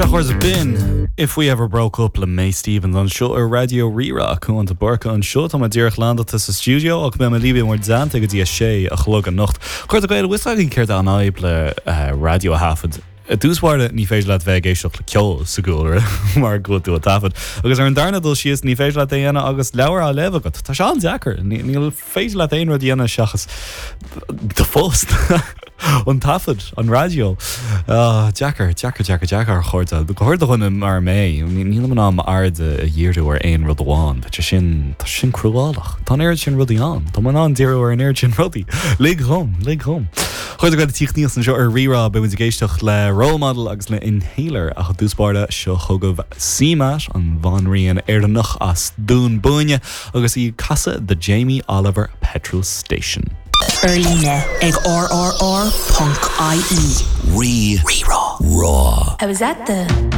Seo chugaibh B'in If We Ever Broke Up le Mae Stephens anseo ar Raidió Rí-Rá. Cuán de Búrca anseo. Tá mé díreach landálta sa stiúideo ach beidh mé libh i bhur dteannta go dtí a sé a chlog anocht. A chairde Gael, bhfuil fhios agaibh céard é an fhadhb le raidió a thaifead? I dtús báire, ní féidir leat bheith ag éisteacht le ceol sa gcúlra mar go bhfuil tú ag taifead. Agus ar an darna dul síos, ní féidir leat é a dhéanamh agus leabhar á léamh agat. Tá sé an-deacair. Ní féidir leat aon rud a dhéanamh seachas do phost. An taifead, an raidió. Deacair, deacair, deacair, deacair, a chairde. Go háirid do dhuine mar mé, nílim in ann m'aird a dhíriú ar aon rud amháin. Tá sé sin, tá sé sin cruálach. Tá an oiread sin rudaí ann. Tá mé in ann díriú ar an oiread sin rudaí. Lig dhom, lig dhom. A chairde Gael ag tíocht aníos anseo ar Rí-Rá, beidh muid ag éisteacht le Role Model agus le Inhaler ach i dtús báire seo chugaibh CMAT, an bhanríon Éireannach as Dún Búinne agus í ag casadh The Jamie Oliver Petrol Station. Ar líne ag rrr.ie. Rí-Rá. I was at the.